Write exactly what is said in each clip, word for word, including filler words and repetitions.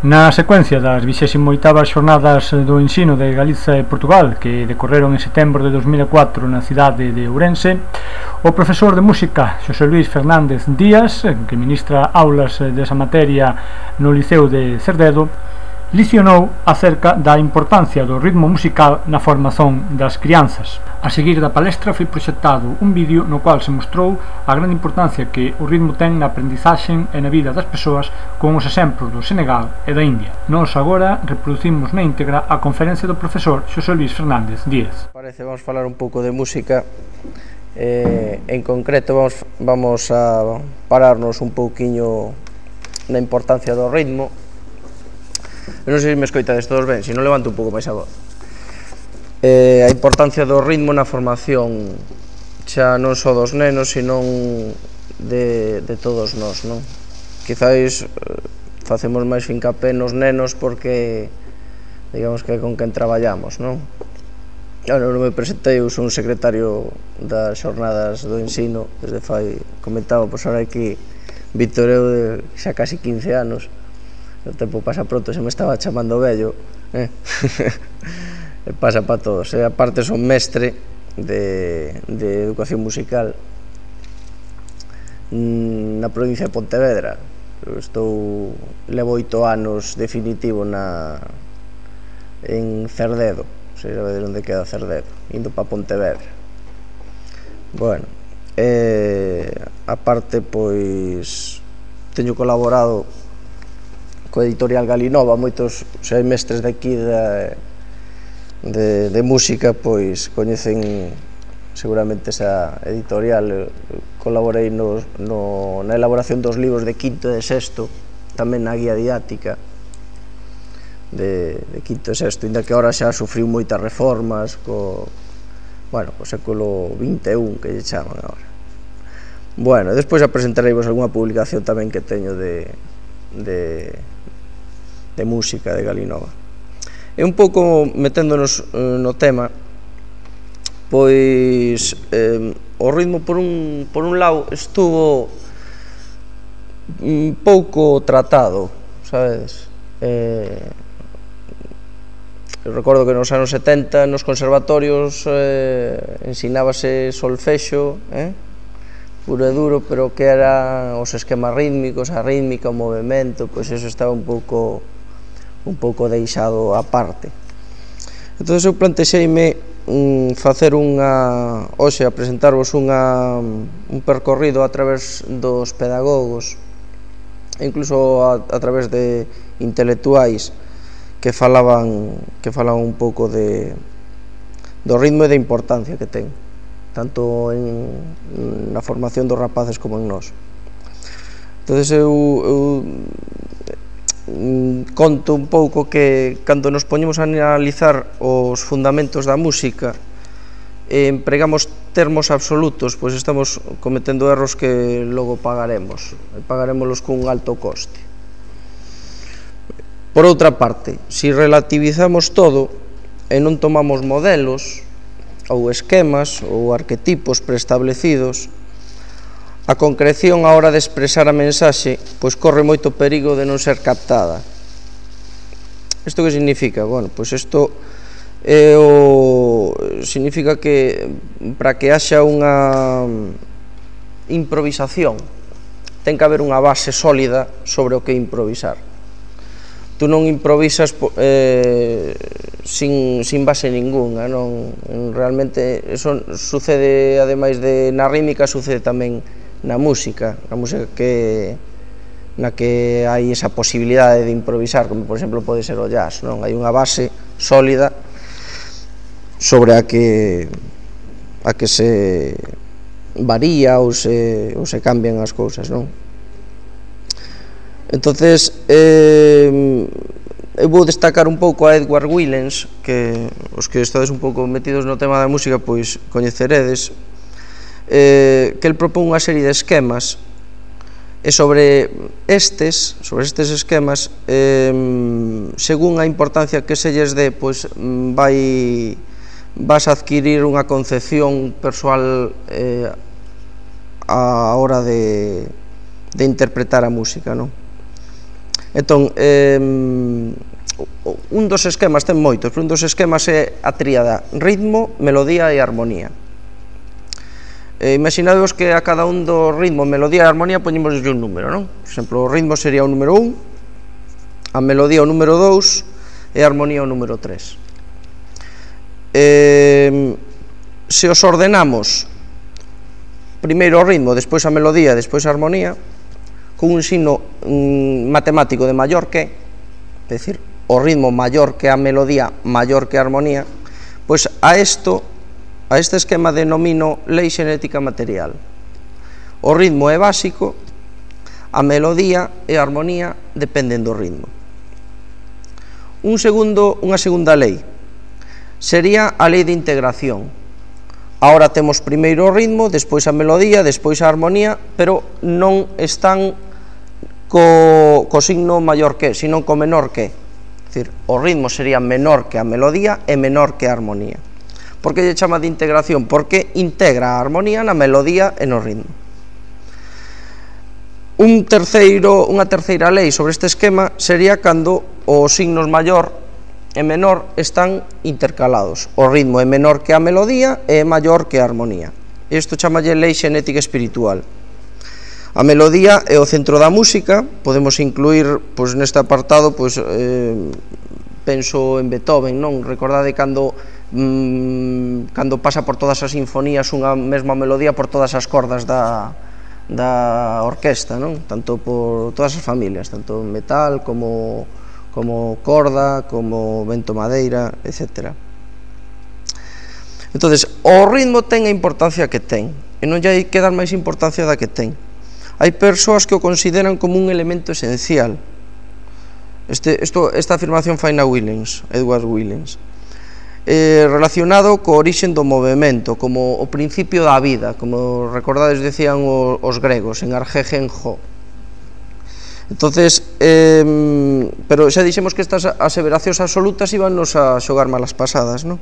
Na secuencia das vixésimo oitavas xornadas do ensino de Galiza e Portugal, que decorreron en setembro de dos mil e catro na cidade de Ourense, o profesor de música Xosé Luís Fernández Díaz, que ministra aulas desa materia no Liceo de Cerdedo, licionou acerca da importancia do ritmo musical na formación das crianzas. A seguir da palestra foi proxectado un vídeo no cual se mostrou a grande importancia que o ritmo ten na aprendizaxe e na vida das persoas, con os exemplos do Senegal e da India. Nós agora reproducimos na íntegra a conferencia do profesor Xosé Luís Fernández Díaz. Parece, vamos falar un pouco de música, eh, en concreto vamos, vamos a pararnos un pouquiño na importancia do ritmo. Eu non sei se me escoitades todos ben, se non levanto un pouco máis a voz. Eh, a importancia do ritmo na formación xa non só dos nenos, senón de, de todos nós, non? Quizáis eh, facemos máis fincapé nos nenos porque digamos que é con quen traballamos, non? Eu non me presentei, eu son secretario das xornadas do ensino desde fai, comentaba, pois ahora aquí Víctor, eu de xa casi quince anos. O tempo pasa pronto, se me estaba chamando vello, eh? Pasa para todos, e aparte son mestre de, de educación musical na provincia de Pontevedra. Eu estou, levo oito anos definitivo na, en Cerdedo, non sei saber onde queda Cerdedo, indo para Pontevedra. Bueno, eh, aparte, pois, teño colaborado co editorial Galinova, moitos xa mestres de aquí de, de, de música, pois coñecen seguramente esa editorial. Colaborei no, no, na elaboración dos libros de quinto e de sexto, tamén na guía didáctica de, de quinto e sexto, inda que agora xa sufriu moitas reformas co, bueno, co século vinte e un, que lle chaman agora. Bueno, despois apresentareivos algunha publicación tamén que teño de, de de música de Galinova. E un pouco meténdonos eh, no tema, pois eh, o ritmo por un, por un lado estuvo un pouco tratado, sabedes? Eh, eu recordo que nos anos setenta nos conservatorios eh, ensinábase solfexo, eh? puro e duro, pero que eran os esquemas rítmicos, a rítmica, o movimento, pois eso estaba un pouco un pouco deixado á parte. Entón eu plantexeime mm, facer unha, hoxe, a presentarvos unha, un percorrido a través dos pedagogos, incluso a, a través de intelectuais que falaban, que falaban un pouco de, do ritmo e da importancia que ten, tanto en, na formación dos rapaces como en nós. Entón eu, eu conto un pouco que cando nos poñemos a analizar os fundamentos da música e empregamos termos absolutos, pois estamos cometendo erros que logo pagaremos, e pagarémolos cun alto coste. Por outra parte, se relativizamos todo e non tomamos modelos ou esquemas ou arquetipos preestablecidos, a concreción á hora de expresar a mensaxe pois corre moito perigo de non ser captada. Isto que significa? Bueno, pois isto é o, significa que para que haxa unha improvisación ten que haber unha base sólida sobre o que improvisar. Tú non improvisas eh, sin, sin base ningunha, non? Realmente eso sucede, ademais de na rítmica, sucede tamén na música, na música que na que hai esa posibilidade de improvisar, como por exemplo pode ser o jazz, non? Hai unha base sólida sobre a que a que se varía ou se, ou se cambian as cousas, non? Entonces, eh, eu vou destacar un pouco a Edward Willens, que os que estades un pouco metidos no tema da música pois coñeceredes, eh, que el propón unha serie de esquemas, e sobre estes, sobre estes esquemas, eh, según a importancia que se lles dé, pois vai vas a adquirir unha concepción persoal eh, a hora de, de interpretar a música, non? Entón, eh, un dos esquemas, ten moitos, pero un dos esquemas é a tríada ritmo, melodía e armonía. Eh, imaginadvos que a cada un do ritmo, melodía e armonía poñemos un número, non? Por exemplo, o ritmo sería o número un, a melodía o número dous e a armonía o número tres. Eh, se os ordenamos primeiro o ritmo, despois a melodía, despois a armonía, con un signo mm, matemático de maior que, é dicir, o ritmo maior que a melodía, maior que a armonía, pois a isto, a este esquema denomino lei xenética material. O ritmo é básico, a melodía e a armonía dependen do ritmo. Un segundo, unha segunda lei sería a lei de integración. Ahora temos primeiro o ritmo, despois a melodía, despois a armonía, pero non están co, co signo maior que, sino co menor que. É dicir, o ritmo sería menor que a melodía e menor que a armonía. Por que lle chama de integración? Porque integra a armonía na melodía e no ritmo. Un terceiro, unha terceira lei sobre este esquema sería cando os signos maior e menor están intercalados. O ritmo é menor que a melodía e é maior que a armonía. Isto chamalle lei xenética espiritual. A melodía é o centro da música, podemos incluir pois, neste apartado, pois, eh, penso en Beethoven, non? Recordade cando, mm, cando pasa por todas as sinfonías unha mesma melodía por todas as cordas da, da orquesta, non? Tanto por todas as familias, tanto metal como, como corda, como vento madeira, etcétera. Entonces, o ritmo ten a importancia que ten, e non lle hai que dar máis importancia da que ten. Hai persoas que o consideran como un elemento esencial. Este, esto, esta afirmación fai na Williams, Edward Williams, eh, relacionado co orixen do movimento, como o principio da vida, como recordades decían os, os gregos, en argegen ho. Entonces, eh, pero xa dixemos que estas aseveracións absolutas íbannos a xogar malas pasadas, non?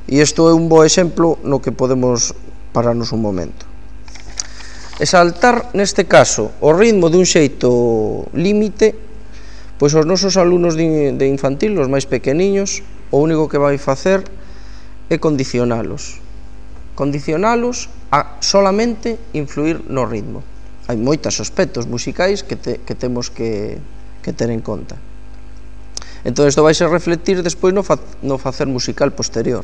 E isto é un bo exemplo no que podemos pararnos un momento. Exaltar, neste caso, o ritmo dun xeito límite, pois os nosos alumnos de, de infantil, os máis pequeniños, o único que vai facer é condicionalos. Condicionalos a solamente influir no ritmo. Hai moitos aspectos musicais que, te, que temos que, que ter en conta. Entón, isto vai se reflectir despois no, fa, no facer musical posterior.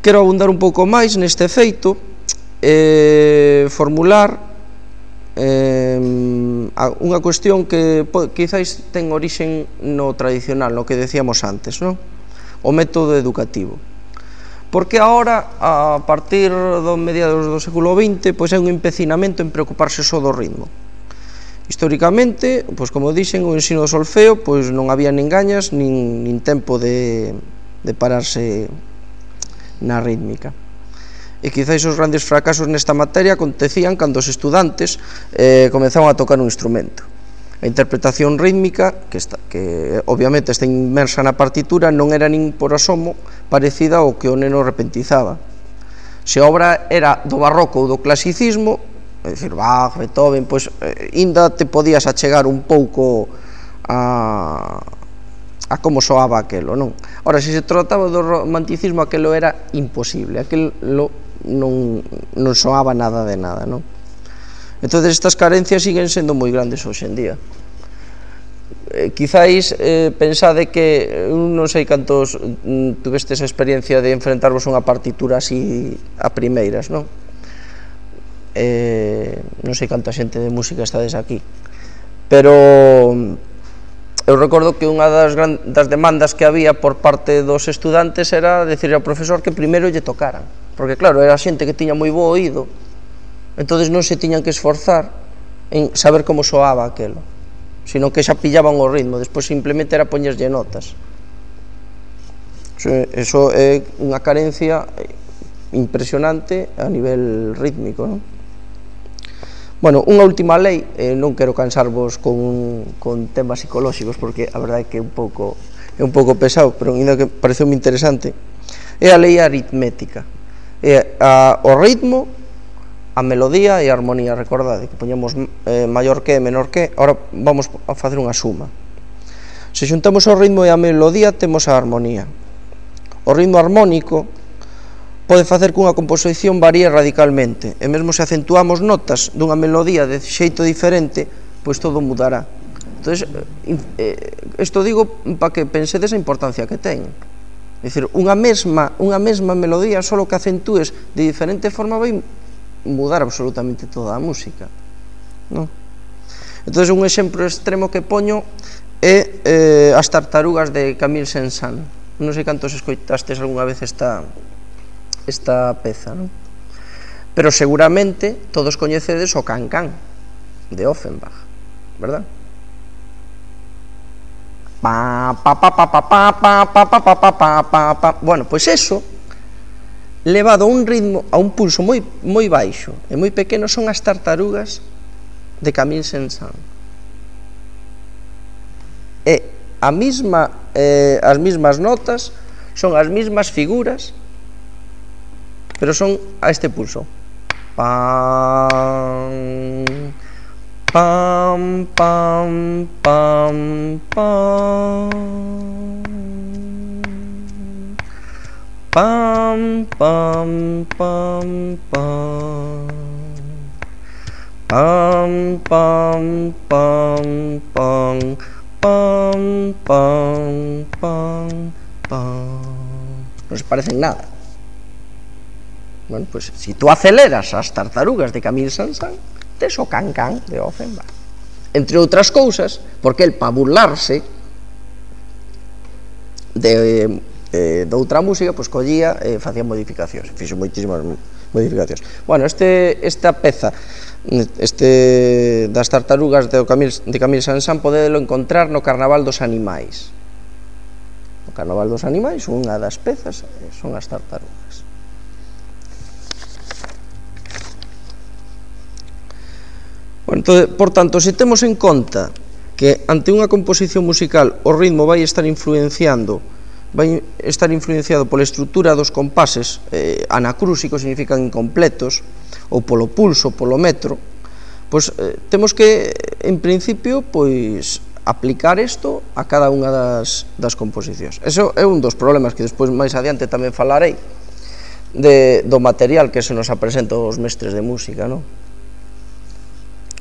Quero abundar un pouco máis neste feito, eh, formular eh, unha cuestión que quizáis ten orixen no tradicional, no que decíamos antes, non? O método educativo. Porque agora, a partir dos mediados do século vinte, pois hai un empecinamento en preocuparse só do ritmo. Históricamente, pois como dixen, o ensino do solfeo, pois non había nin gañas, nin, nin tempo de, de pararse na rítmica. E quizáis os grandes fracasos nesta materia acontecían cando os estudantes eh, comenzaban a tocar un instrumento. A interpretación rítmica, que, está, que obviamente está inmersa na partitura, non era nin por asomo parecida ao que o neno repentizaba. Se a obra era do barroco ou do clasicismo, é dicir, Bach, Beethoven, pois eh, ainda te podías achegar un pouco a, a como soaba aquelo, non? Ora, se se trataba do romanticismo, aquelo era imposible, aquelo non, non soaba nada de nada, non? Entón, estas carencias siguen sendo moi grandes hoxe en día. Eh, quizáis eh, pensade que, non sei cantos mm, tuvestes a experiencia de enfrentarvos unha partitura así a primeiras, non? Eh, non sei canta xente de música estades aquí, pero eu recordo que unha das, gran, das demandas que había por parte dos estudantes era decir ao profesor que primeiro lle tocaran, porque claro, era xente que tiña moi bo oído, entonces non se tiñan que esforzar en saber como soaba aquelo, sino que xa pillaban o ritmo, despois simplemente era poñerlle notas. Eso é unha carencia impresionante a nivel rítmico, non? Bueno, unha última lei, eh, non quero cansarvos con, con temas psicolóxicos, porque a verdade é que é un pouco, é un pouco pesado, pero ainda que pareceu moi interesante, é a lei aritmética. É a, o ritmo a melodía e a armonía, recordade que poñemos eh, maior que e menor que. Ahora vamos a facer unha suma. Se xuntamos o ritmo e a melodía, temos a armonía. O ritmo armónico pode facer que unha composición varíe radicalmente, e mesmo se acentuamos notas dunha melodía de xeito diferente, pois todo mudará. Entón, isto digo para que pensedes a importancia que ten. É dicir, unha mesma, unha mesma melodía, só que acentúes de diferente forma, vai mudar absolutamente toda a música, non? Entón, un exemplo extremo que poño é eh, As tartarugas de Camille Saint-Saëns. Non sei cantos escoitastes algunha vez esta, esta peza, non? Pero seguramente todos coñecedes o Can-Can de Offenbach, verdad? Pa, pa, pa, pa, pa, pa, pa, pa, pa, pa, pa, pa, pa. Bueno, pois eso, levado a un ritmo, a un pulso moi, moi baixo e moi pequeno, son As tartarugas de Camille Saint-Saëns. E a misma, eh, as mismas notas, son as mismas figuras, pero son a este pulso. Pam, pam, pam, pam, pam. Pam, pam, pam, pam. Pam, pam, pam, pam. Pam, pam, pam, pam. Non se parecen nada. Bueno, pues si tú aceleras As tartarugas de Camille Saint-Saëns, tes o Can-Can de Offenbach. Entre outras cousas, porque el, para burlarse de... Eh, de outra música, pois collía e eh, facía modificacións, fixo moitísimas modificacións. Bueno, este, esta peza este das tartarugas de Camille, de Camille Saint-Saëns podedelo encontrar no Carnaval dos Animais. No Carnaval dos Animais, unha das pezas son as tartarugas. Bueno, entón, por tanto, se temos en conta que ante unha composición musical o ritmo vai estar influenciando vai estar influenciado pola estrutura dos compases, eh, anacrúsicos significan incompletos, ou polo pulso, polo metro, pois eh, temos que, en principio, pois aplicar isto a cada unha das, das composicións. Eso é un dos problemas que despois máis adiante tamén falarei de, do material que se nos apresenta aos mestres de música, non?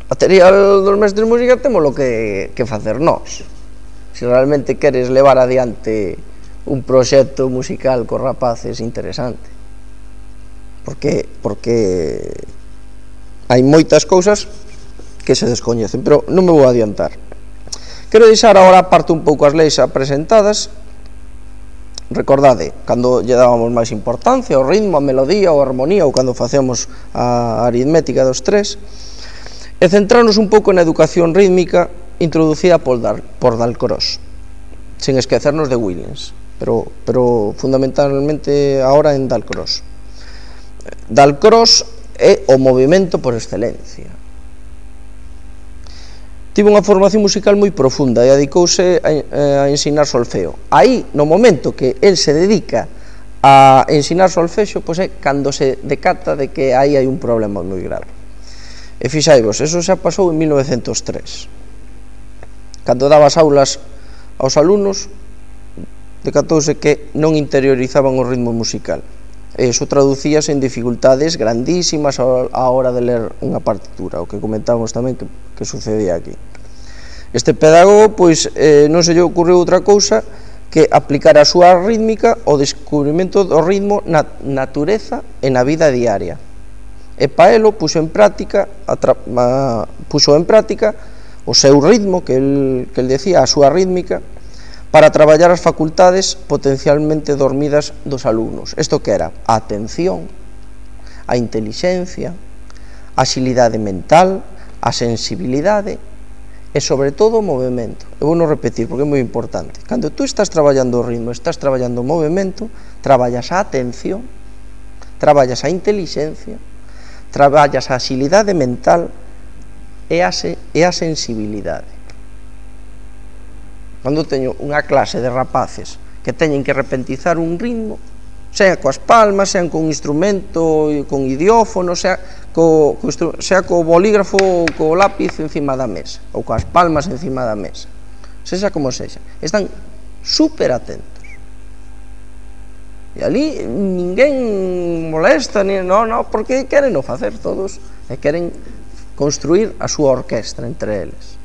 Material dos mestres de música temos lo que, que facer nós. Se realmente queres levar adiante un proxecto musical cos rapaces interesante, porque porque hai moitas cousas que se descoñecen, pero non me vou adiantar. Quero deixar agora aparte un pouco as leis apresentadas. Recordade, cando lle dábamos máis importancia ao ritmo, a melodía ou a armonía, ou cando facemos a aritmética dos tres, e centrarnos un pouco na educación rítmica introducida por Dalcroze, sin esquecernos de Williams. Pero, pero fundamentalmente ahora en Dalcroze. Dalcroze é o movimento por excelencia. Tivo unha formación musical moi profunda e dedicouse a, a ensinar solfeo. Aí, no momento que el se dedica a ensinar solfexo, pois é cando se decata de que aí hai un problema moi grave. E fixaivos, eso xa pasou en mil novecentos e tres. Cando daba as aulas aos alumnos, decatouse que non interiorizaban o ritmo musical. E iso traducíase en dificultades grandísimas a hora de ler unha partitura, o que comentábamos tamén que, que sucedía aquí. Este pedagogo, pois, eh, non se lle ocurriu outra cousa que aplicar a súa rítmica ao descubrimento do ritmo na natureza e na vida diaria. E pa elo puxo en práctica, a, a, puxo en práctica o seu ritmo, que el, que el decía, a súa rítmica, para traballar as facultades potencialmente dormidas dos alumnos. Isto que era a atención, a intelixencia, a axilidade mental, a sensibilidade e, sobre todo, o movimento. Eu vou non repetir, porque é moi importante. Cando tú estás traballando o ritmo, estás traballando o movimento, traballas a atención, traballas a intelixencia, traballas a axilidade mental e a, se, e a sensibilidade. Cando teño unha clase de rapaces que teñen que repentizar un ritmo, sea coas palmas, sean con instrumento, con idiófono, sea co, co, sea co bolígrafo ou co lápiz encima da mesa, ou coas palmas encima da mesa, sexa como sexa, están super atentos. E ali ninguén molesta, ni, no, no, porque queren o facer todos, e queren construir a súa orquestra entre eles.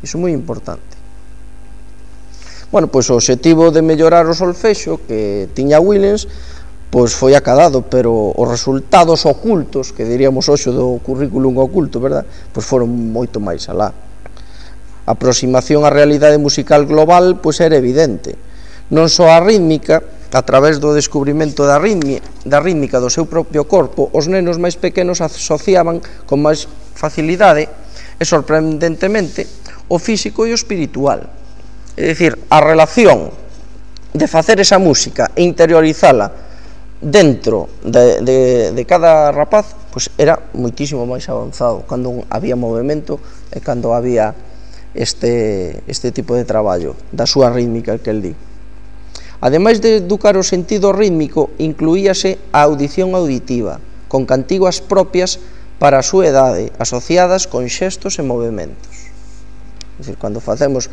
Iso é moi importante. Bueno, pois o obxectivo de mellorar o solfexo que tiña Williams pois foi acadado, pero os resultados ocultos, que diríamos hoxe do currículum oculto, verdad? Pois foron moito máis alá. A aproximación á realidade musical global pois era evidente. Non só a rítmica, a través do descubrimento da rítmica, da rítmica do seu propio corpo, os nenos máis pequenos asociaban con máis facilidade e sorprendentemente o físico e o espiritual. É dicir, a relación de facer esa música e interiorizala dentro de, de, de cada rapaz pois era moitísimo máis avanzado cando había movimento e cando había este, este tipo de traballo da súa rítmica que el di. Ademais de educar o sentido rítmico, incluíase a audición auditiva, con cantigas propias para a súa idade, asociadas con xestos e movimentos. É dicir, cando facemos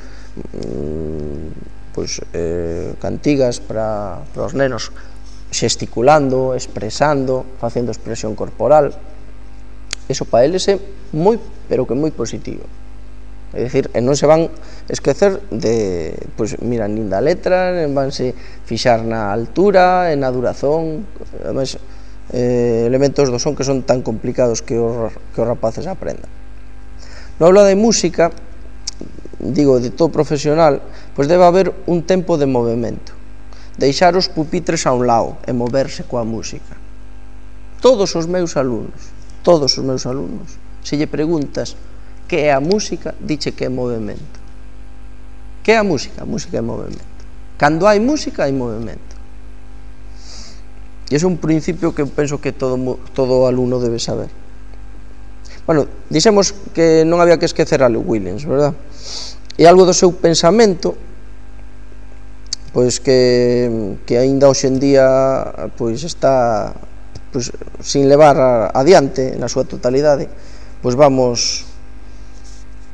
pois, eh, cantigas para, para os nenos xesticulando, expresando, facendo expresión corporal, iso para eles é moi, pero que moi positivo. É dicir, e non se van esquecer de, pois, mira, nin da letra, nin vanse fixar na altura, e na durazón, ademais, eh, elementos do son que son tan complicados que os, que os rapaces aprendan. No aula de música, digo, de todo profesional, pois debe haber un tempo de movimento, deixar os pupitres a un lado e moverse coa música. Todos os meus alumnos, todos os meus alumnos, se lle preguntas que é a música, diche que é movimento. Que é a música? A música é movimento. Cando hai música, hai movimento. E ese é un principio que penso que todo, todo alumno debe saber. Bueno, dixemos que non había que esquecer a Lou Williams, verdad? E algo do seu pensamento, pois que, que aínda hoxe en día pois está pois, sin levar adiante na súa totalidade, pois vamos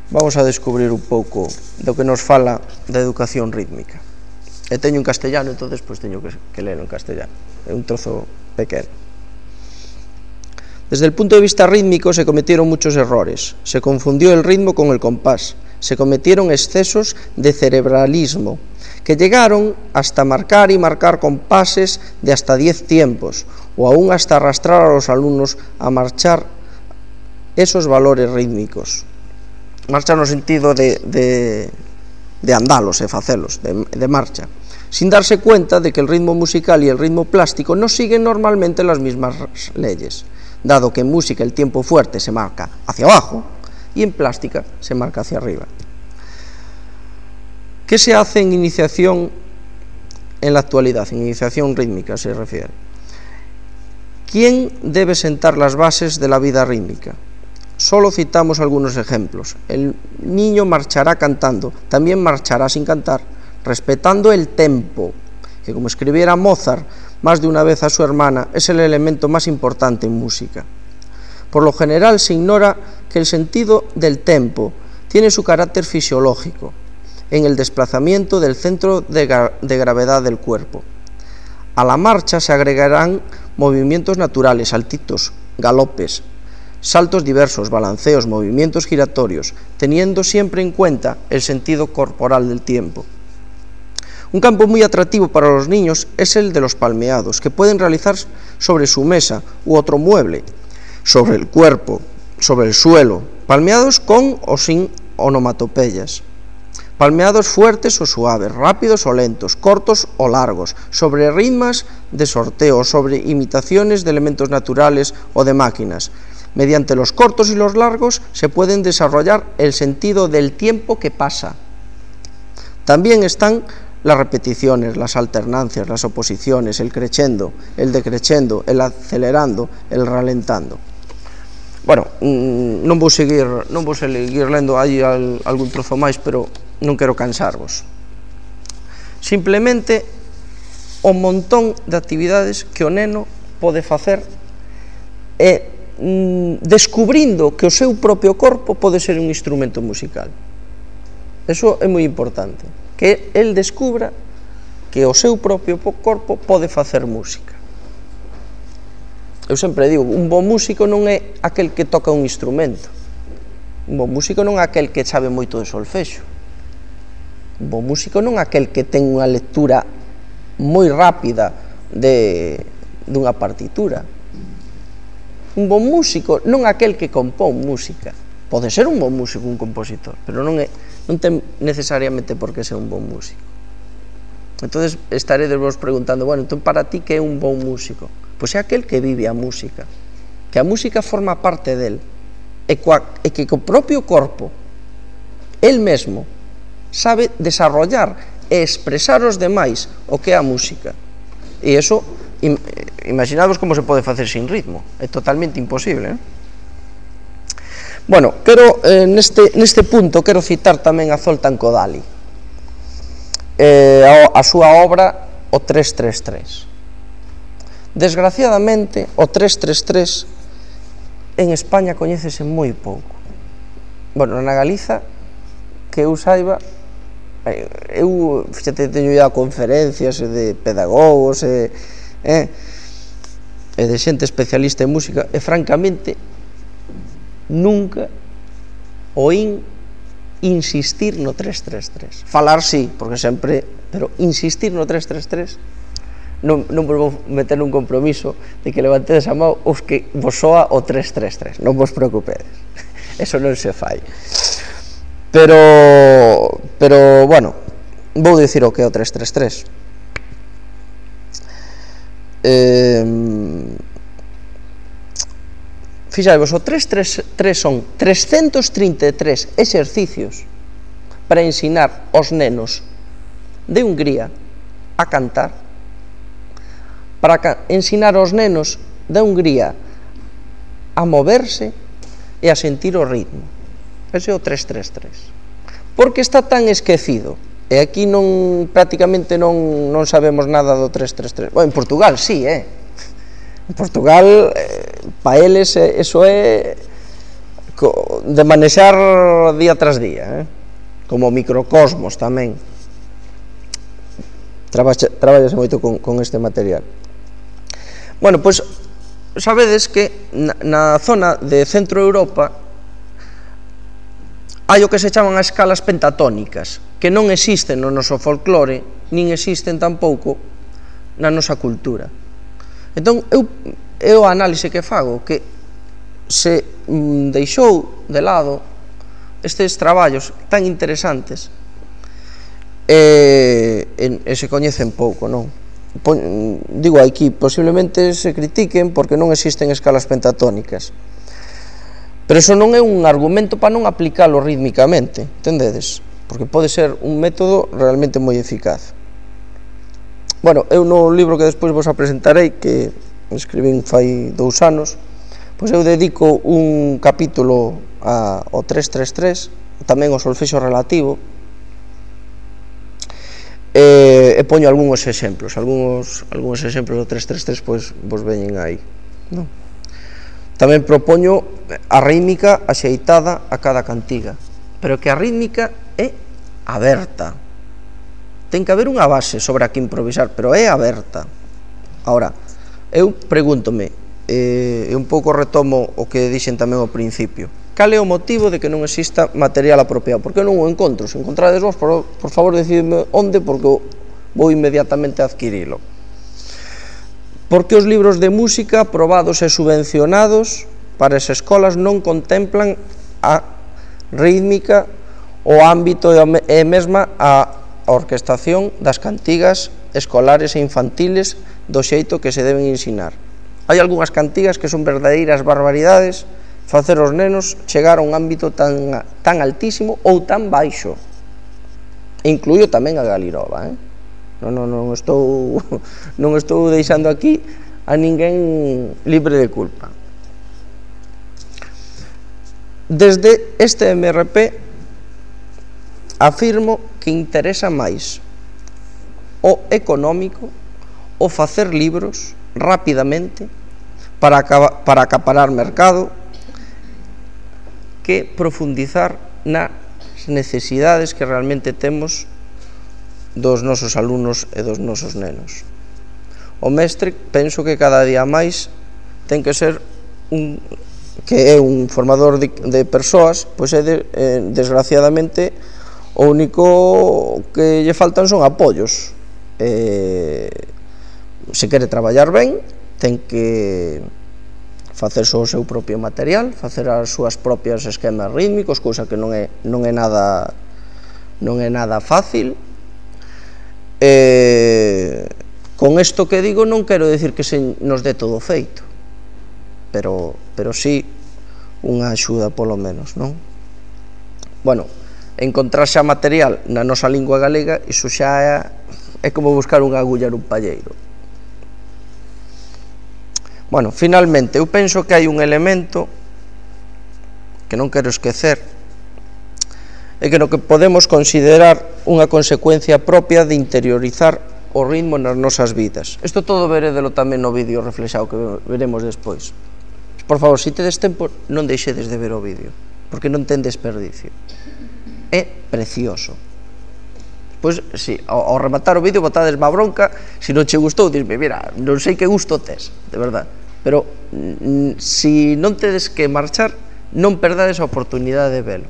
vamos a descubrir un pouco do que nos fala da educación rítmica. E teño en castellano, entonces pois teño que, que ler en castellano, é un trozo pequeno. Desde el punto de vista rítmico se cometieron muchos errores, se confundió el ritmo con el compás, se cometieron excesos de cerebralismo, que llegaron hasta marcar y marcar compases de hasta diez tiempos, o aún hasta arrastrar a los alumnos a marchar esos valores rítmicos. Marcha no sentido de, de, de andalos e facelos, de, de marcha, sin darse cuenta de que el ritmo musical y el ritmo plástico no siguen normalmente las mismas leyes, dado que en música el tiempo fuerte se marca hacia abajo y en plástica se marca hacia arriba. ¿Qué se hace en iniciación en la actualidad? En iniciación rítmica se refiere. ¿Quién debe sentar las bases de la vida rítmica? Solo citamos algunos ejemplos. El niño marchará cantando, también marchará sin cantar, respetando el tempo, que como escribiera Mozart más de una vez a su hermana, es el elemento más importante en música. Por lo general se ignora que el sentido del tempo tiene su carácter fisiológico, en el desplazamiento del centro de, gra de gravedad del cuerpo. A la marcha se agregarán movimientos naturales, saltitos, galopes, saltos diversos, balanceos, movimientos giratorios, teniendo siempre en cuenta el sentido corporal del tiempo. Un campo muy atractivo para los niños es el de los palmeados, que pueden realizar sobre su mesa u otro mueble, sobre el cuerpo, sobre el suelo, palmeados con o sin onomatopeyas. Palmeados fuertes o suaves, rápidos o lentos, cortos o largos, sobre ritmos de sorteo, sobre imitaciones de elementos naturales o de máquinas. Mediante los cortos y los largos se pueden desarrollar el sentido del tiempo que pasa. También están las repeticiones, las alternancias, las oposiciones, el crescendo, el decrescendo, el acelerando, el ralentando. Bueno, non vou seguir, non vou seguir lendo aí algún trozo máis, pero non quero cansarvos. Simplemente o montón de actividades que o neno pode facer e mm, descubrindo que o seu propio corpo pode ser un instrumento musical. Eso é moi importante, que el descubra que o seu propio corpo pode facer música. Eu sempre digo, un bon músico non é aquel que toca un instrumento. Un bon músico non é aquel que sabe moito de solfexo. Un bon músico non é aquel que ten unha lectura moi rápida de, dunha partitura. Un bon músico non é aquel que compón música. Pode ser un bon músico, un compositor, pero non, é, non ten necesariamente por que ser un bon músico. Entonces estaredes vos preguntando, bueno, entón para ti que é un bon músico? Pois é aquel que vive a música, que a música forma parte del, e, coa, e que co propio corpo, el mesmo, sabe desarrollar e expresar aos demais o que é a música. E iso, im, imaginados como se pode facer sin ritmo, é totalmente imposible, eh? Bueno, quero, eh, neste, neste punto, quero citar tamén a Zoltán Kodály, eh, a, a súa obra O tres tres tres. Desgraciadamente, o tres tres tres en España coñécese moi pouco. Bueno, na Galiza, que eu saiba, eu, fíxate, teño ido a conferencias de pedagogos e, eh, e de xente especialista en música, e francamente nunca oín insistir no tres tres tres. Falar sí, porque sempre, pero insistir no tres tres tres non, non vos vou meter un compromiso de que levantedes a mão os que vos soa o tres tres tres, non vos preocupedes, eso non se fai. Pero, pero, bueno, vou dicir o que é o tres tres tres. Eh, fixadevos, o tres tres tres son trescentos trinta e tres exercicios para ensinar aos nenos de Hungría a cantar, para ensinar aos nenos de Hungría a moverse e a sentir o ritmo. Ese é o tres tres tres. Porque está tan esquecido, e aquí non, prácticamente non, non sabemos nada do tres tres tres. Bueno, en Portugal sí, eh? En Portugal, eh, pa eles, eh, eso é de manexar día tras día, eh? Como microcosmos tamén. Traballase moito con, con este material. Bueno, pois, sabedes que na, na zona de Centro Europa hai o que se chaman as escalas pentatónicas, que non existen no noso folclore, nin existen tampouco na nosa cultura. Entón, eu, eu a análise que fago, que se mm, deixou de lado estes traballos tan interesantes e, e, e se coñecen pouco, non? Pon, digo, aquí posiblemente se critiquen porque non existen escalas pentatónicas, pero eso non é un argumento para non aplicalo rítmicamente, entendedes? Porque pode ser un método realmente moi eficaz. Bueno, eu no libro que despois vos apresentarei, que escribín fai dous anos, pois eu dedico un capítulo a, ao tres tres tres, tamén ao solfexo relativo, e, e poño algúns exemplos, algúns, algúns exemplos do tres tres tres, pois vos veñen aí, non? Tamén propoño a rítmica axeitada a cada cantiga, pero que a rítmica é aberta. Ten que haber unha base sobre a que improvisar, pero é aberta. Ahora, eu pregúntome, e un pouco retomo o que dixen tamén ao principio, cal é o motivo de que non exista material apropiado? Porque eu non o encontro. Se encontrades vos, por, por favor, decidme onde, porque vou inmediatamente a adquirilo. Porque os libros de música aprobados e subvencionados para as escolas non contemplan a rítmica, o ámbito e mesma a orquestación das cantigas escolares e infantiles do xeito que se deben ensinar. Hai algunhas cantigas que son verdadeiras barbaridades facer os nenos chegar a un ámbito tan, tan altísimo ou tan baixo. Incluyo tamén a Galirova, eh? Non, non, non, estou, non estou deixando aquí a ninguén libre de culpa. Desde este M R P afirmo que interesa máis o económico, o facer libros rapidamente para, para acaparar mercado que profundizar nas necesidades que realmente temos dos nosos alumnos e dos nosos nenos. O mestre, penso que cada día máis ten que ser un, que é un formador de, de persoas, pois é de, eh, desgraciadamente o único que lle faltan son apoios. Eh, se quere traballar ben, ten que facer só o seu propio material, facer as súas propias esquemas rítmicos, cousa que non é, non é nada non é nada fácil. Eh, con isto que digo non quero decir que se nos dé todo feito, pero, pero sí unha axuda polo menos, non? Bueno, encontrar xa material na nosa lingua galega, iso xa é, é como buscar unha agulla nun palleiro. Bueno, finalmente, eu penso que hai un elemento que non quero esquecer, e que no que podemos considerar unha consecuencia propia de interiorizar o ritmo nas nosas vidas. Isto todo veredelo tamén no vídeo reflexado que veremos despois. Por favor, se tedes tempo, non deixedes de ver o vídeo, porque non ten desperdicio. É precioso. Pois, si, ao, ao rematar o vídeo botades má bronca, se non che gustou, disme, mira, non sei que gusto tes, de verdad, pero se non tedes que marchar, non perdades a oportunidade de velo,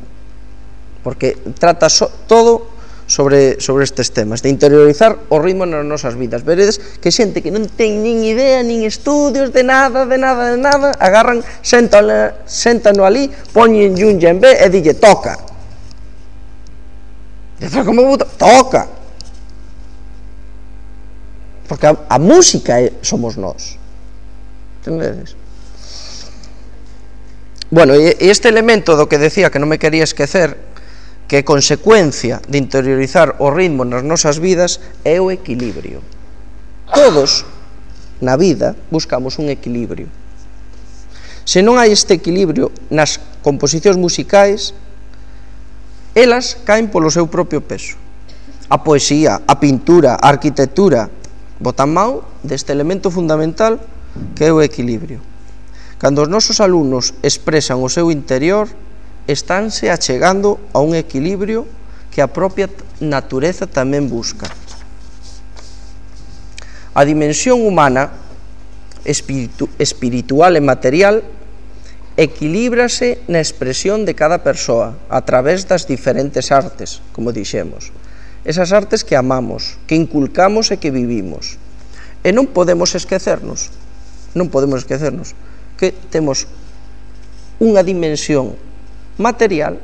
porque trata so, todo sobre, sobre estes temas, de interiorizar o ritmo nas nosas vidas. Veredes que xente que non ten nin idea, nin estudios de nada, de nada, de nada, agarran, séntano ali, poñen un djembe e dille, toca. Dice, como toca. Porque a, a música é, somos nós. Entendedes? Bueno, e este elemento do que decía que non me quería esquecer, que é consecuencia de interiorizar o ritmo nas nosas vidas, é o equilibrio. Todos na vida buscamos un equilibrio. Se non hai este equilibrio nas composicións musicais, elas caen polo seu propio peso. A poesía, a pintura, a arquitectura botan mão deste elemento fundamental que é o equilibrio. Cando os nosos alumnos expresan o seu interior, estánse achegando a un equilibrio que a propia natureza tamén busca. A dimensión humana, espiritu, espiritual e material, equilíbrase na expresión de cada persoa a través das diferentes artes, como dixemos. Esas artes que amamos, que inculcamos e que vivimos. E non podemos esquecernos, non podemos esquecernos que temos unha dimensión material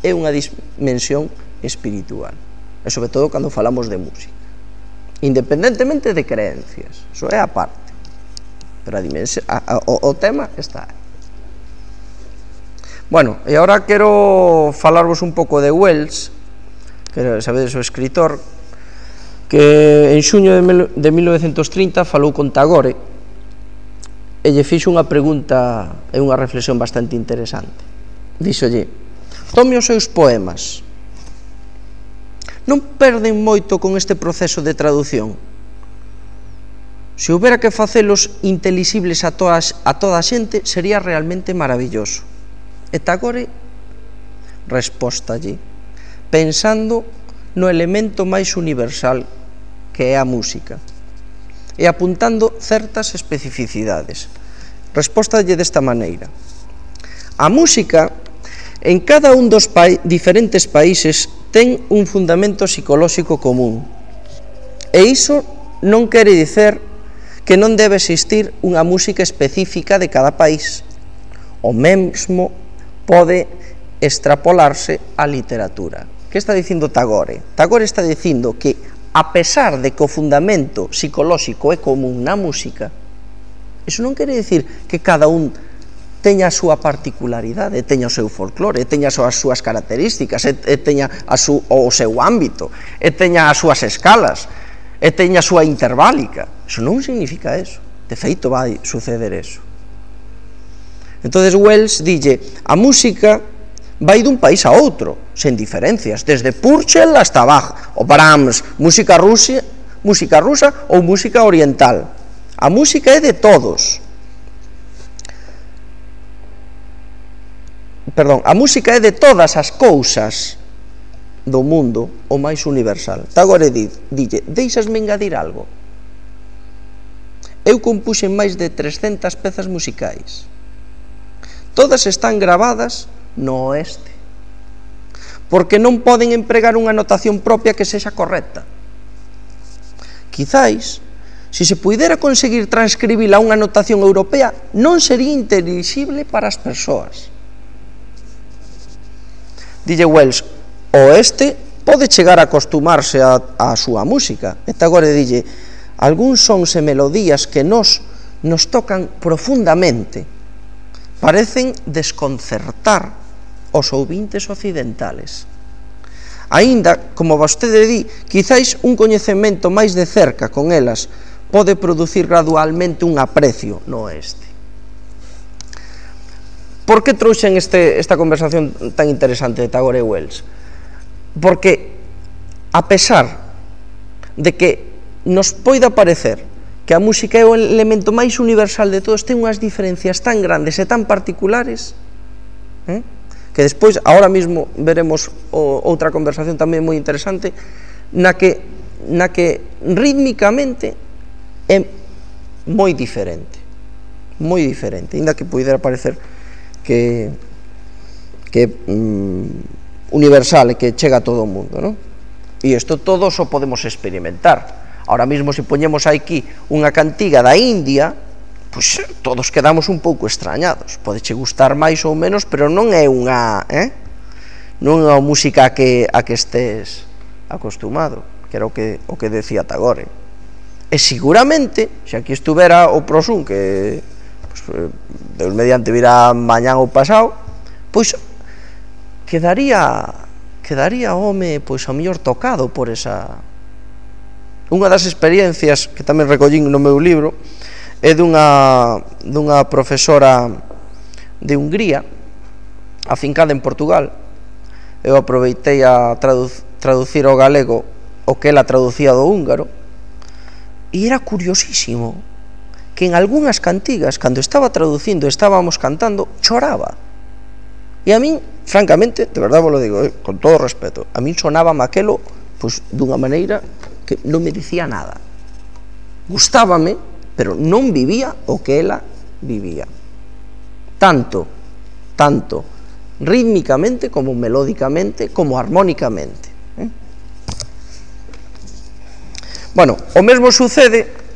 e unha dimensión espiritual, e sobre todo cando falamos de música, independentemente de creencias, iso é a parte, pero a dimensión, a, a, o, o tema está aí. Bueno, e agora quero falarvos un pouco de Wells, que sabedes o escritor, que en xuño de mil novecentos trinta falou con Tagore e lle fixo unha pregunta e unha reflexión bastante interesante. Díxolle, tome os seus poemas, non perden moito con este proceso de traducción? Se houbera que facelos intelixibles a, todas, a toda a xente, sería realmente maravilloso. E Tagore respóstalle, pensando no elemento máis universal que é a música, e apuntando certas especificidades. Respóstalle desta maneira: a música en cada un dos pa diferentes países ten un fundamento psicolóxico común, e iso non quere dicer que non debe existir unha música específica de cada país. O mesmo pode extrapolarse á literatura. Que está dicindo Tagore? Tagore está dicindo que, a pesar de que o fundamento psicolóxico é común na música, iso non quere dicir que cada un teña a súa particularidade, teña o seu folclore, teña as súas características, e teña a su, o seu ámbito, e teña as súas escalas, e teña a súa interválica. Iso non significa eso. De feito, vai suceder eso. Entonces Wells dille, a música vai dun país a outro, sen diferencias, desde Purcell hasta Bach, o Brahms, música rusa, música rusa ou música oriental. A música é de todos. Perdón, a música é de todas as cousas do mundo o máis universal. Tagore dille, deixasme engadir algo. Eu compuxen máis de trescentas pezas musicais. Todas están gravadas no oeste, porque non poden empregar unha notación propia que sexa correcta. Quizáis, se se puidera conseguir transcribir a unha notación europea, non sería intelixible para as persoas. Dille Wells, o oeste pode chegar a acostumarse a, a súa música. E agora dille, algúns sons e melodías que nos, nos tocan profundamente, parecen desconcertar os ouvintes occidentales. Aínda, como vostede di, quizáis un coñecemento máis de cerca con elas pode producir gradualmente un aprecio no oeste. Por que trouxen este, esta conversación tan interesante de Tagore e Wells? Porque, a pesar de que nos poida parecer que a música é o elemento máis universal de todos, ten unhas diferencias tan grandes e tan particulares, eh? que despois, ahora mismo, veremos o, outra conversación tamén moi interesante, na que, na que rítmicamente é moi diferente, moi diferente, ainda que poidera parecer que que mm, universal e que chega a todo o mundo, non? E isto todo só podemos experimentar. Ahora mesmo, se poñemos aquí unha cantiga da India, pois todos quedamos un pouco extrañados. Podeche gustar máis ou menos, pero non é unha, eh? non é unha música a que, a que estés acostumado, que era o que, o que decía Tagore. E seguramente, se aquí estuvera o Prosun, que pues, Deus mediante virá mañán ou pasado, pois quedaría quedaría o home pois a mellor tocado por esa. Unha das experiencias que tamén recollín no meu libro é dunha dunha profesora de Hungría afincada en Portugal. Eu aproveitei a tradu traducir ao galego o que ela traducía do húngaro, e era curiosísimo que en algunhas cantigas, cando estaba traducindo, estábamos cantando, choraba. E a min, francamente, de verdade vos lo digo, eh, con todo respeto, a min sonaba aquelo pois, dunha maneira que non me dicía nada. Gustábame, pero non vivía o que ela vivía. Tanto, tanto rítmicamente, como melódicamente, como armónicamente. Eh? Bueno, o mesmo sucede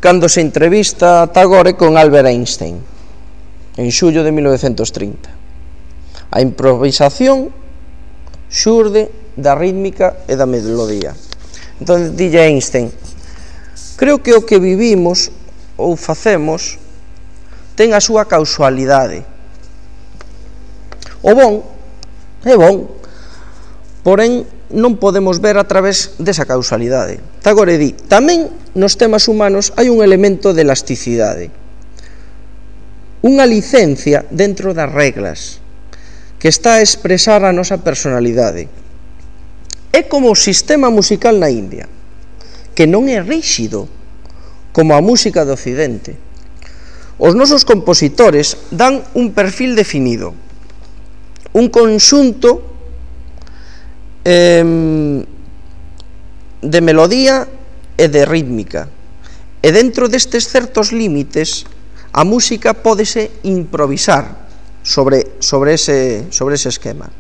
cando se entrevista Tagore con Albert Einstein en xullo de mil novecentos trinta. A improvisación xurde da rítmica e da melodía. Entón, dille Einstein, creo que o que vivimos ou facemos ten a súa causalidade. O bon é bon, porén non podemos ver a través desa causalidade. Tagore di, tamén nos temas humanos hai un elemento de elasticidade, unha licencia dentro das reglas que está a expresar a nosa personalidade. É como o sistema musical na India, que non é ríxido como a música do Occidente. Os nosos compositores dan un perfil definido, un conxunto eh, de melodía e de rítmica, e dentro destes certos límites a música pódese improvisar sobre, sobre, ese, sobre ese esquema.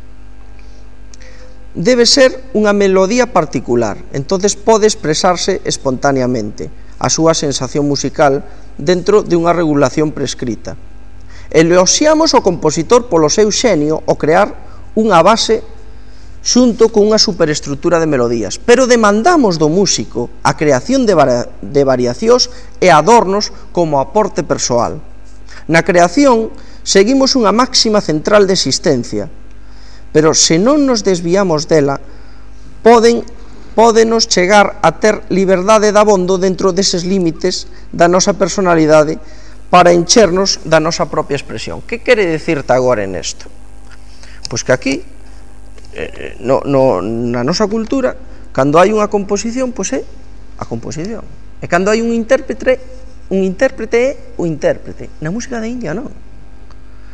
Debe ser unha melodía particular, entonces pode expresarse espontaneamente a súa sensación musical dentro de unha regulación prescrita. Eloxiamos o compositor polo seu xenio ao crear unha base xunto con unha superestructura de melodías, pero demandamos do músico a creación de, de variacións e adornos como aporte persoal. Na creación seguimos unha máxima central de existencia, pero se non nos desviamos dela, poden, pódenos chegar a ter liberdade de abondo dentro deses límites da nosa personalidade para enchernos da nosa propia expresión. Que quere dicirte agora en isto? Pois que aquí, no, no, na nosa cultura, Cando hai unha composición, pois é a composición. E cando hai un intérprete, un intérprete é o intérprete. Na música da India non.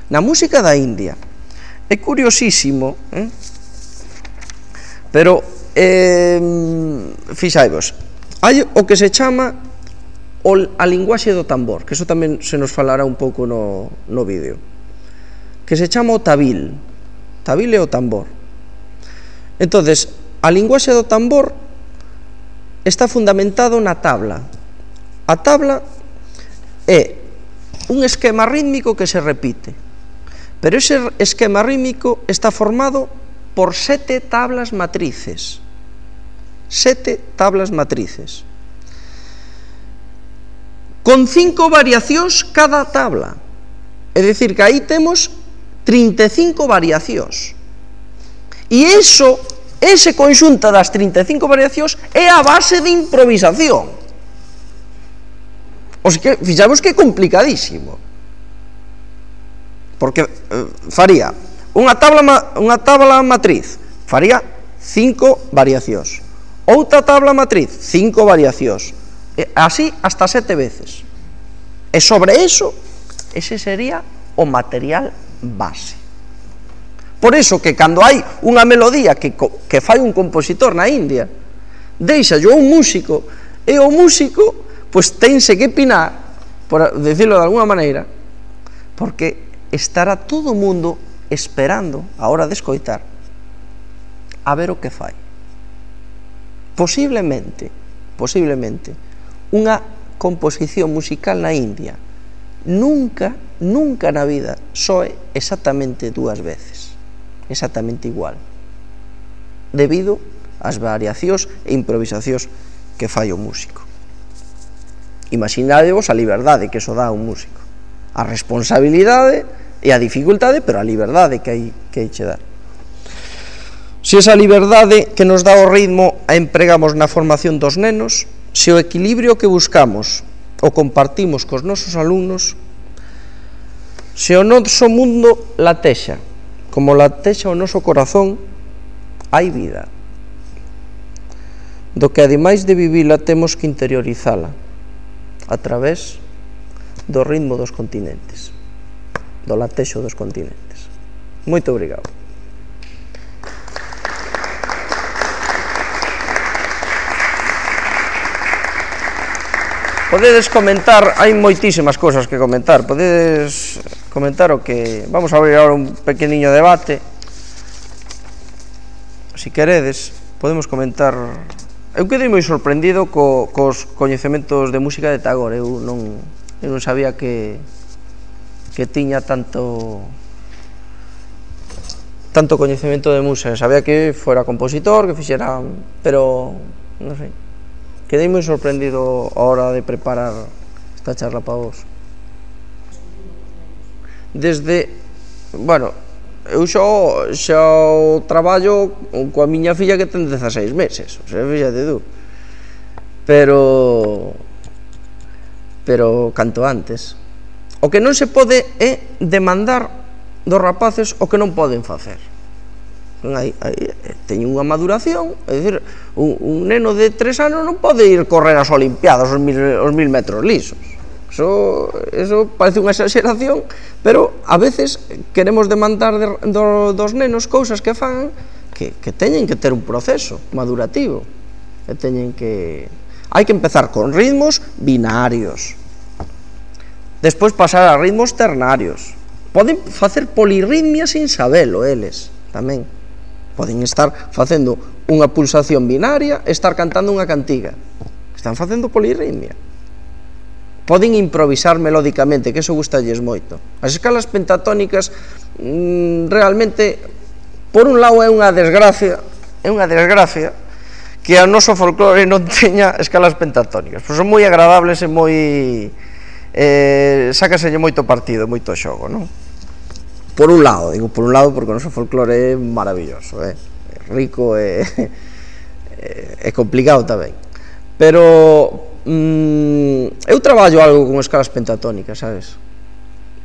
Na música da India é curiosísimo, eh? Pero eh, fixaivos, hai o que se chama o, a linguaxe do tambor, que eso tamén se nos falará un pouco no, no vídeo, que se chama o tabil. Tabil é o tambor. Entonces, a linguaxe do tambor está fundamentado na tabla. A tabla é un esquema rítmico que se repite, pero ese esquema rítmico está formado por sete tablas matrices. Sete tablas matrices. Con cinco variacións cada tabla. É dicir, que aí temos trinta e cinco variacións. E iso, ese conxunto das trinta e cinco variacións é a base de improvisación. O sea que, fixamos que é complicadísimo. Porque eh, faría unha tabla, unha tabla matriz, faría cinco variacións. Outra tabla matriz, cinco variacións. E así hasta sete veces. E sobre eso, ese sería o material base. Por eso que cando hai unha melodía que, que fai un compositor na India, deixa yo un músico, e o músico pois tense que pinar, por decirlo de alguna maneira, porque estará todo o mundo esperando a hora de escoitar a ver o que fai. Posiblemente, posiblemente, unha composición musical na India nunca, nunca na vida soe exactamente dúas veces, exactamente igual, debido ás variacións e improvisacións que fai o músico. Imaginadevos a liberdade que eso dá a un músico, a responsabilidade e a dificultade, pero a liberdade que hai que hai che dar. Se esa liberdade que nos dá o ritmo a empregamos na formación dos nenos, se o equilibrio que buscamos o compartimos cos nosos alumnos, se o noso mundo latexa como latexa o noso corazón, hai vida, do que ademais de vivila temos que interiorizala a través do ritmo dos continentes, do latexo dos continentes. Moito obrigado. Podedes comentar, hai moitísimas cousas que comentar, podedes comentar o que... Vamos a abrir agora un pequeniño debate. Si queredes, podemos comentar... Eu quedei moi sorprendido co, cos coñecementos de música de Tagore. Eu non, eu non sabía que, que tiña tanto tanto coñecemento de música. Sabía que fora compositor, que fixera... Pero, non sei, quedei moi sorprendido a hora de preparar esta charla para vos. Desde, bueno, eu xo, xo traballo coa miña filla que ten dezaseis meses, o sea, fíxate tú, pero pero canto antes. O que non se pode é demandar dos rapaces o que non poden facer. Hai, hai, teñen unha maduración, é dicir, un, un neno de tres anos non pode ir correr as olimpiadas os mil, os mil metros lisos. Eso, eso parece unha exageración, pero a veces queremos demandar de, do, dos nenos cousas que fan que, que teñen que ter un proceso madurativo, que teñen que... Hai que empezar con ritmos binarios, despois pasar a ritmos ternarios. Poden facer polirritmia sin sabelo eles, tamén. Poden estar facendo unha pulsación binaria e estar cantando unha cantiga. Están facendo polirritmia. Poden improvisar melódicamente, que eso gustalles moito. As escalas pentatónicas mmm, realmente, por un lado é unha desgracia, é unha desgracia que o noso folclore non teña escalas pentatónicas, pois son moi agradables e moi eh, sácaselle moito partido, moito xogo, non? Por un lado, digo por un lado porque o noso folclore é maravilloso, é rico e é complicado tamén, pero Mm, eu traballo algo con escalas pentatónicas, sabes?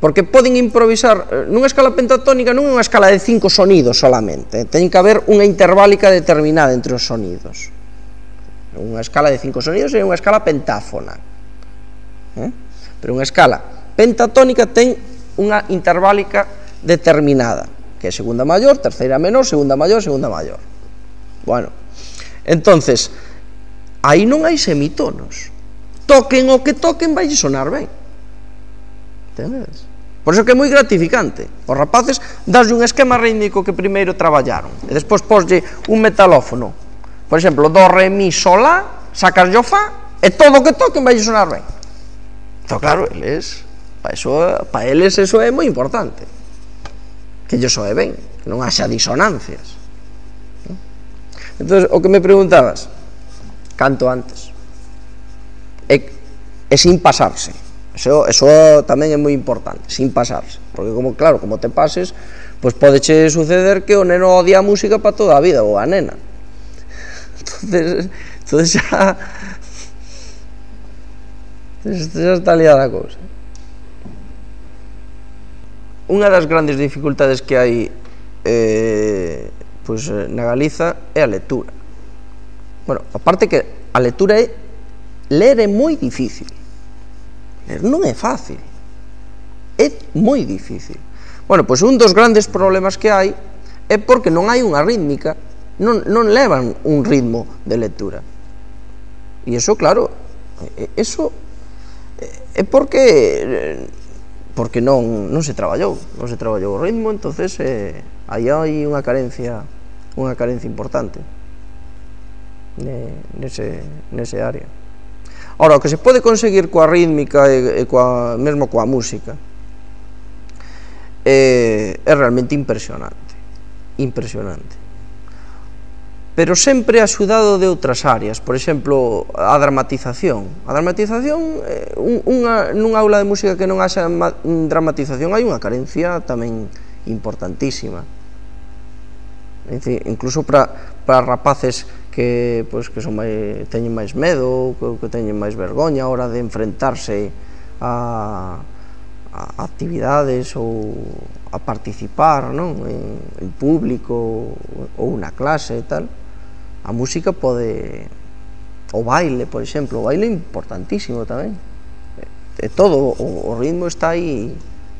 Porque poden improvisar nunha escala pentatónica, non é unha escala de cinco sonidos solamente, ten que haber unha interválica determinada entre os sonidos. Unha escala de cinco sonidos é unha escala pentáfona, eh? Pero unha escala pentatónica ten unha interválica determinada, que é segunda maior, terceira menor, segunda maior, segunda maior. Bueno, entonces aí non hai semitonos, toquen o que toquen vai sonar ben, entendes? Por iso que é moi gratificante. Os rapaces daslle un esquema rítmico que primeiro traballaron e despois poslle un metalófono, por exemplo, do, re, mi, sol, la, sacas yo, fa, e todo o que toquen vai sonar ben. Entón, claro, eles, para eso, pa eles eso é moi importante, que yo soe ben, que non haxa disonancias. Entón, o que me preguntabas, canto antes, e, e sin pasarse, eso, eso tamén é moi importante, sin pasarse, porque como, claro, como te pases, pois podeche suceder que o neno odia a música para toda a vida, ou a nena. Entonces, entonces xa xa está liada a cousa. Unha das grandes dificultades que hai eh, pois, na Galiza é a lectura. Bueno, aparte que a lectura é ler é moi difícil, ler non é fácil, é moi difícil. Bueno, pois un dos grandes problemas que hai é porque non hai unha rítmica, non, non levan un ritmo de lectura. E iso, claro, eso é porque porque non, non se traballou, non se traballou o ritmo, entonces eh, aí hai unha carencia, unha carencia importante nese, nese área. Ora, o que se pode conseguir coa rítmica e, e coa, mesmo coa música é, é realmente impresionante, impresionante. Pero sempre axudado de outras áreas, por exemplo, a dramatización. A dramatización, unha, nunha aula de música que non haxa dramatización, hai unha carencia tamén importantísima. Incluso para, para rapaces que, pues, que son máis, teñen máis medo, que, que teñen máis vergoña a hora de enfrentarse a, a actividades ou a participar, non? En, en público ou na clase e tal. A música pode, o baile, por exemplo, o baile é importantísimo tamén, e todo o, o ritmo está aí,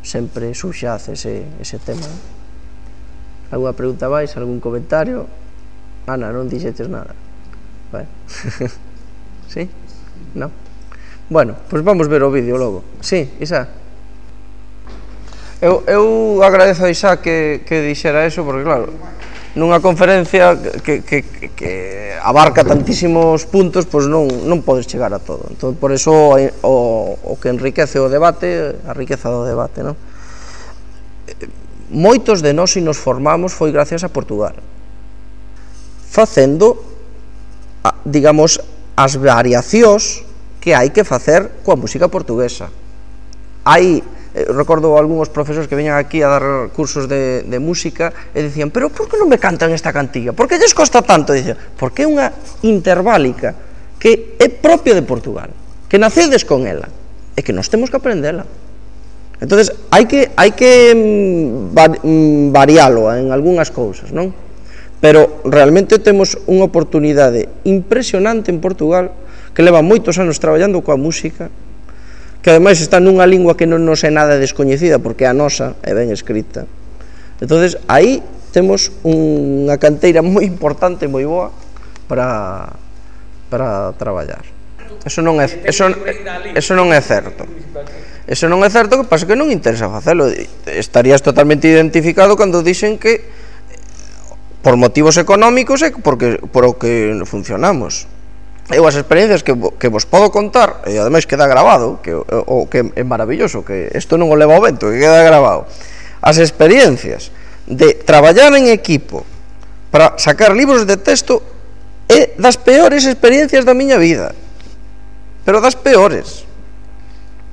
sempre subxace ese, ese tema. Alguna pregunta máis, algún comentario? Ana, non dixetes nada? Bueno. Sí? Non? Bueno, pois vamos ver o vídeo logo. Sí, Isa? Eu, eu agradezo a Isa que, que dixera eso, porque claro, nunha conferencia que, que, que abarca tantísimos puntos, pois non, non podes chegar a todo. Entón, por eso o, o que enriquece o debate, a riqueza do debate, non? Moitos de nós, se nos formamos, foi gracias a Portugal, facendo, digamos, as variacións que hai que facer coa música portuguesa. Hai recordo algúns profesores que veñan aquí a dar cursos de, de música e dicían, pero por que non me cantan esta cantiga? Por que lles costa tanto? E dicían, porque é unha interválica que é propia de Portugal, que nacedes con ela e que nós temos que aprendela. Entonces hai que, hai que varialo en algunhas cousas, non? Pero realmente temos unha oportunidade impresionante en Portugal, que leva moitos anos traballando coa música, que ademais está nunha lingua que non nos é nada descoñecida, porque a nosa é ben escrita. Entonces aí temos unha canteira moi importante, moi boa para, para traballar. Eso non é, eso, eso non é certo. Eso non é certo, que pasa que non interesa facelo. Estarías totalmente identificado cando dixen que por motivos económicos é porque por o que funcionamos. Eu as experiencias que, que vos podo contar, e ademais queda grabado, que, o que é maravilloso, que isto non o leva ao vento, que queda grabado, as experiencias de traballar en equipo para sacar libros de texto é das peores experiencias da miña vida, pero das peores.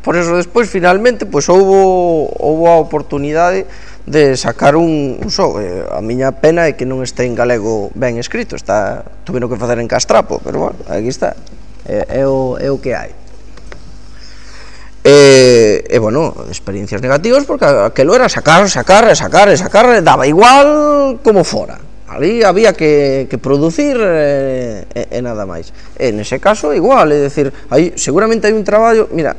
Por eso despois finalmente pois houbo, houbo a oportunidade de sacar un, un show. Eh, a miña pena é que non este en galego ben escrito, está, tuveno que facer en castrapo, pero bueno, aquí está, é, é, o, é o que hai. E, e bueno, experiencias negativas, porque aquelo era sacar, sacar, sacar, sacar, daba igual como fora. Ali había que, que producir e, e e nada máis. E nese caso igual, é dicir, aí seguramente hai un traballo, mira,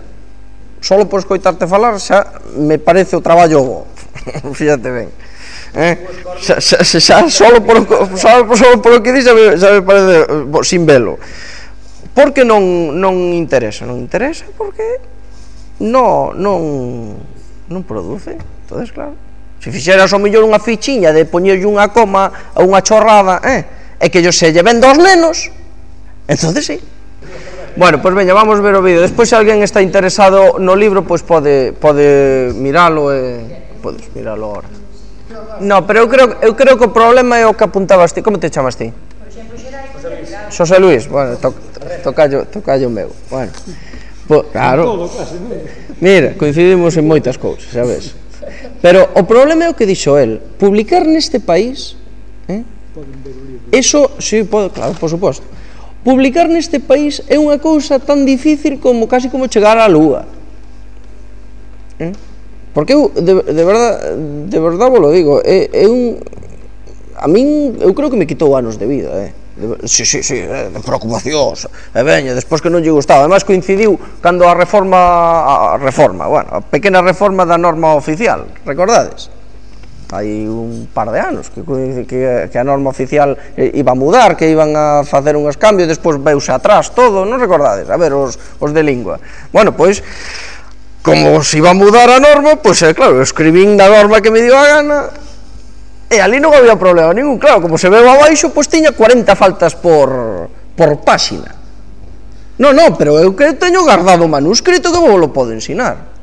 solo por escoitarte falar xa me parece o traballo bo. Fíjate ben. Eh? Xa, xa, xa solo por solo, solo por o que di xa me, xa me parece bo, sin velo. Por que non non interesa? Non interesa porque no, non non produce. Entonces, claro, se fixeras ao mellor unha fichiña de poñerlle unha coma a unha chorrada, eh, e que yo se lle vendo aos nenos, entonces sí. Bueno, pois veña, vamos ver o vídeo. Despois se alguén está interesado no libro, pois pode pode miralo e podes miralo agora. No, pero eu creo eu creo que o problema é o que apuntabas ti. Como te chamas ti? Xosé Luis. Bueno, to, tocallo, tocallo meu. Bueno. Po, claro. Mira, coincidimos en moitas cousas, sabes? Pero o problema é o que dixo el, publicar neste país, eh? Eso, sí, pode, claro, por suposto. Publicar neste país é unha cousa tan difícil como casi como chegar á lúa. Eh? Porque eu, de, de verdad, de verdad vos lo digo, é, é un... A min, eu creo que me quitou anos de vida, eh? De, sí, sí, sí, eh, de preocupacións, e veña, despois que non lle gustaba. Además coincidiu cando a reforma, a reforma, bueno, a pequena reforma da norma oficial, recordades? Hai un par de anos que, que, que a norma oficial iba a mudar, que iban a facer unhos cambios, despois veuse atrás todo, non recordades? A ver, os, os de lingua. Bueno, pois, como se iba a mudar a norma, pois, eh, claro, escribín na norma que me dio a gana, e ali non había problema ningún, claro, como se veu abaixo, pois tiña cuarenta faltas por, por páxina. Non, non, pero eu que teño guardado o manuscrito que vos lo podo ensinar.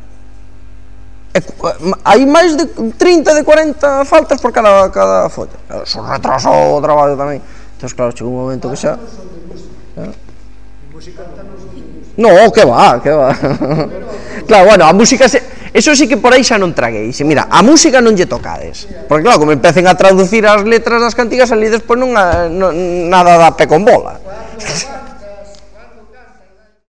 E, hai máis de trinta, de cuarenta faltas por cada, cada folla. Eso retrasou o traballo tamén. Entón, claro, chegou un momento que xa... No, que va, que va. Claro, bueno, a música se... Eso sí que por aí xa non traguei. Mira, a música non lle tocades. Porque claro, como empecen a traducir as letras das cantigas, ali despois non, non nada dá pé con bola.